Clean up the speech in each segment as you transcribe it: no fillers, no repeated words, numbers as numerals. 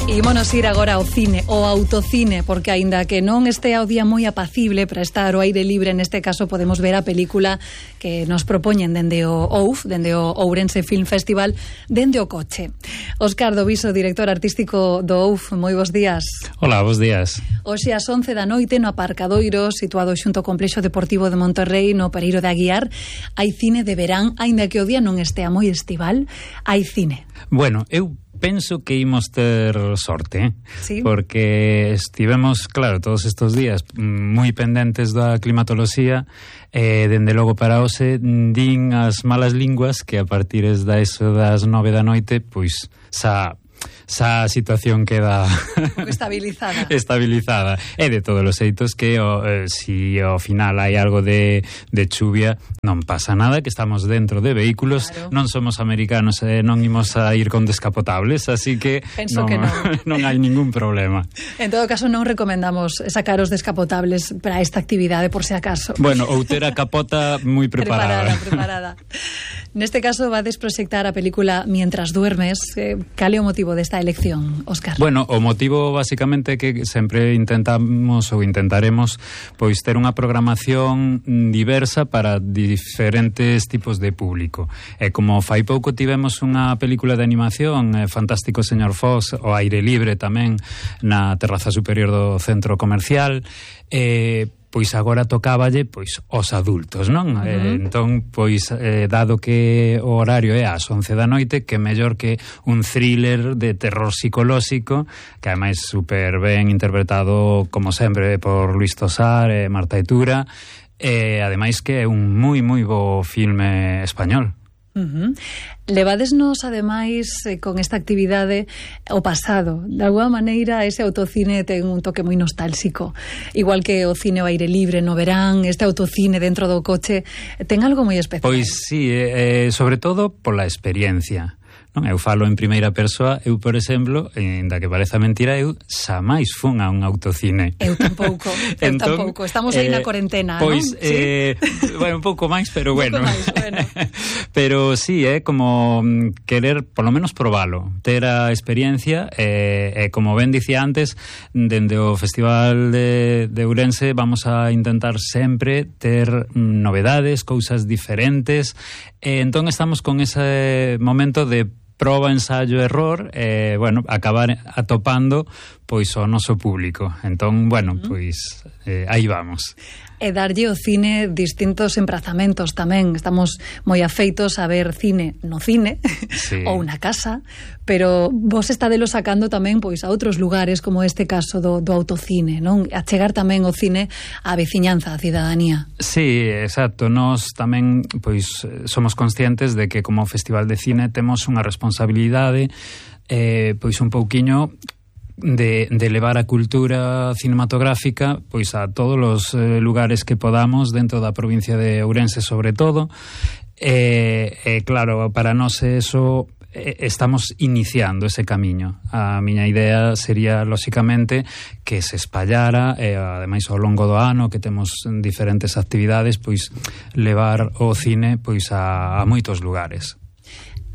Ímonos ir agora ao cine, ao autocine, porque aínda que non estea o día moi apacible para estar ao aire libre, neste caso podemos ver a película que nos propoñen dende o OUF, dende o Ourense Film Festival, dende o coche. Óscar Doviso, director artístico do OUF, moi bons días. Hola, bons días. Hoxe ás 11 da noite no aparcadoiro situado xunto ao Complexo Deportivo de Monterrey, no Pereiro de Aguiar, hai cine de verán, aínda que o día non estea moi estival, hai cine. Bueno, eu penso que imos ter sorte, ¿Sí? Porque estivemos, claro, todos estes días moi pendentes da climatoloxía, dende logo para hoxe din as malas linguas que a partir das 9 da noite, pois xa a situación queda estabilizada. E de todos os xeitos que si ao final hai algo de chuvia, non pasa nada, que estamos dentro de vehículos, claro. Non somos americanos, non imos a ir con descapotables, así que non hai ningún problema. En todo caso, non recomendamos sacar os descapotables para esta actividade, por se acaso. Bueno, ou ter a capota moi preparada. Preparada. Neste caso, vades proxectar a película Mientras duermes. Cal é o motivo desta elección, Óscar? Bueno, o motivo basicamente é que sempre intentamos ou intentaremos pois ter unha programación diversa para diferentes tipos de público. E como fai pouco tivemos unha película de animación, Fantástico Señor Fox, ao aire libre tamén na terraza superior do centro comercial, pois agora tocáballe pois os adultos, non? Entón, pois dado que o horario é ás 11 da noite, que mellor que un thriller de terror psicolóxico, que ademais super ben interpretado como sempre por Luis Tosar e Marta Etura, e ademais que é un moi bo filme español. Levadesnos, ademais, con esta actividade o pasado. De alguma maneira, ese autocine ten un toque moi nostálxico. Igual que o cine ao aire libre no verán, este autocine dentro do coche ten algo moi especial. Pois sí, sobre todo pola experiencia. Non, eu falo en primeira persoa. Eu, por exemplo, ainda que pareza mentira, eu xamais fun a un autocine. Eu tampouco, estamos aí na cuarentena, pois, non? Sí? Bueno, un pouco máis, pero bueno. Bueno. Pero sí, é como querer, polo menos, probalo, ter a experiencia, e como ben dicía antes, dende o Festival de Ourense vamos a intentar sempre ter novedades, cousas diferentes, e entón estamos con ese momento de proba, ensayo, error, bueno, acabar atopando pois o noso público. Entón, bueno, pois aí vamos. E darlle o cine distintos emprazamentos tamén. Estamos moi afeitos a ver cine no cine, sí, ou na casa, pero vos estadelo sacando tamén pois a outros lugares, como este caso do autocine, non? A chegar tamén o cine á veciñanza, á cidadanía. Sí, exacto. Nós tamén pois somos conscientes de que como Festival de Cine temos unha responsabilidade pois un pouquiño de levar a cultura cinematográfica pois a todos os lugares que podamos dentro da provincia de Ourense, sobre todo. Claro, para nós eso estamos iniciando ese camiño. A miña idea sería, lóxicamente, que se espallara, ademais ao longo do ano, que temos diferentes actividades, pois levar o cine pois a moitos lugares.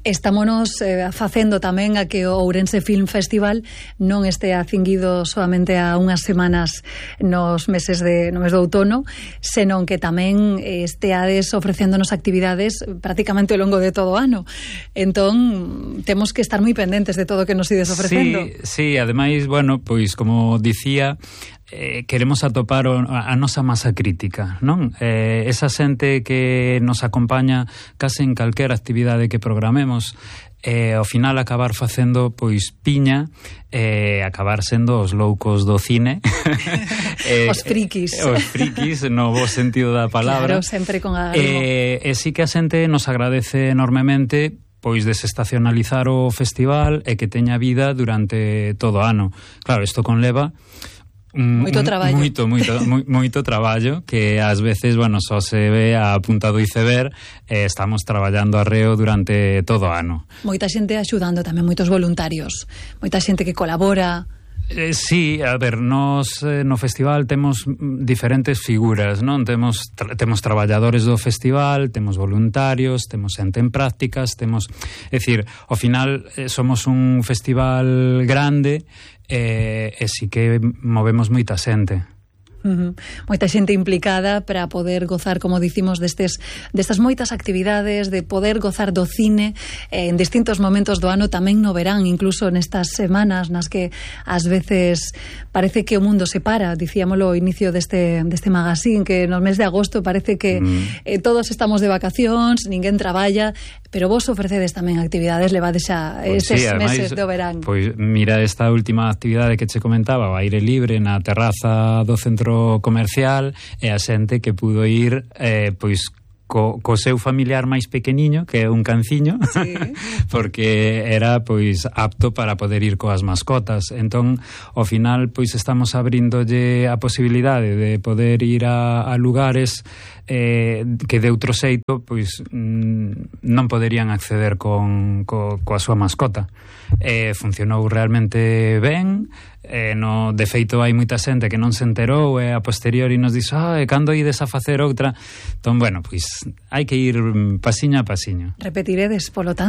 Estámonos facendo tamén a que o Ourense Film Festival non estea cinguido solamente a unhas semanas no mes do outono, senón que tamén esteades ofrecéndonos actividades prácticamente ao longo de todo o ano. Entón, temos que estar moi pendentes de todo o que nos ides ofrecendo. Sí, ademais, bueno, pois como dicía, queremos atopar a nosa masa crítica, non? Esa xente que nos acompaña case en calquera actividade que programemos, ao final acabar facendo pois piña, acabar sendo os loucos do cine. Os frikis, no bo sentido da palabra. Claro, sempre con algo. E sí que a xente nos agradece enormemente pois desestacionalizar o festival e que teña vida durante todo o ano. Claro, isto conleva moito traballo. Moito traballo, que ás veces, bueno, só se ve a punta do iceberg. Estamos traballando arreo durante todo o ano. Moita xente axudando tamén, moitos voluntarios, moita xente que colabora. Sí, a ver, nos no festival temos diferentes figuras, non? Temos traballadores do festival, temos voluntarios, temos xente en prácticas, temos... É dicir, ao final somos un festival grande e si que movemos moita xente. Moita xente implicada para poder gozar, como dicimos, destas moitas actividades, de poder gozar do cine en distintos momentos do ano, tamén no verán, incluso nestas semanas nas que ás veces parece que o mundo se para. Dicíamolo ao inicio deste magazín, que no mes de agosto parece que todos estamos de vacacións, ninguén traballa, pero vos ofrecedes tamén actividades, levades xa estes meses do verán. Pois mira, esta última actividade que che comentaba, o aire libre na terraza do centro comercial, e a xente que pudo ir pois co seu familiar máis pequeniño, que é un canciño, sí. Porque era pois apto para poder ir coas mascotas. Entón, ao final, pois estamos abrindolle a posibilidade de poder ir a lugares que de outro xeito pois non poderían acceder coa súa mascota. Funcionou realmente ben. De feito hai moita xente que non se enterou e a posteriori nos dixo cando ides a facer outra. Entón, bueno, pois hai que ir pasiño a pasiño. Repetiredes, polo tanto.